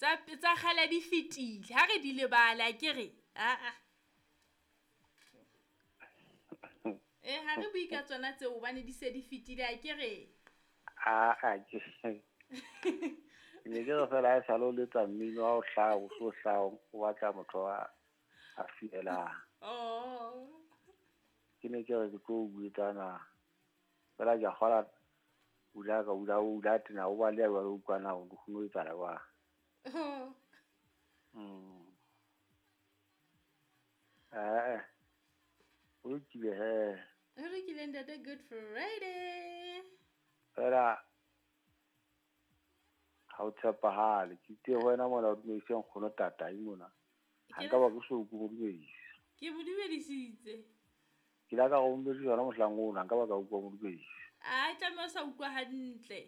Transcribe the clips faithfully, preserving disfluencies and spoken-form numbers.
Tsa tsa kgale di fetile. Ha re di lebala ke re. Ah ah. Eh ha re bue ka tsona tseo hobane di se di fetile a ke re. Ah ah ke. Ne ke re fela ha sale o letsa mmino wa o hlaha o so hlaha o batla motho a a fielang. Oh. Ke ne ke re ke tlo buetsana. Fela ke a kgola ula ka ula ula tena o ba le wa o utlwana o kgone ho etsahala jwang. Oh. Mm. Eh. O lokile he. Ho lokile ntate, Good Friday. Fela ha o tshepahale ke itse ho wena mona o dumedise nkgono tatai mona. Ha nka ba ke so ko mo dumedisa. Ke mo dumedisitse. Ke la ka go dumedisa yona mohlang ona nka ba ka utlwa mo dumedisa. A tlameha o sa utlwa hantle.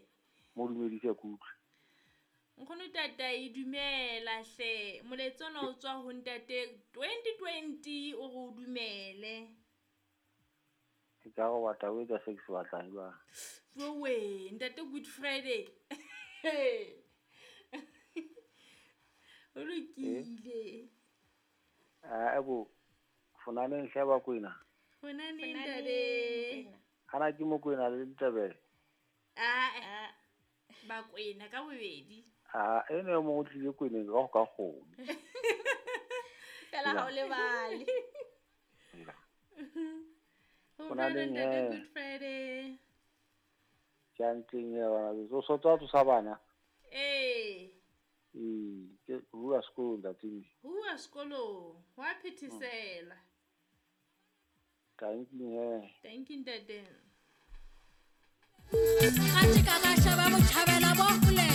Mo dumedise ke utlwe. Nkgono tatai dumela hle. Molaetsa ona o tswa ho ntate twenty twenty o re o dumele. Ke ka go batla o etsa se ke se batlang jwang. Jowe, ntate Good Friday. O lokile. Eh bo fonaneng hle ba kwena. Fonaneng ntate. Ana ke mo kwena le Ntebele. Ah ba kwena ka bobedi. Ah ene mo o tlile kweneng ka go ka kgomo. Fela ha o lebale. Fonaneng ntate Good Friday. Chanting ya bana so so tsa tsosa bana. Eh. Eh, ke bua sekolo ntate. Bua sekolo, wa phethesela. Thank you he. Thank you ntate. Ka ka shaba botjhabela bo hole.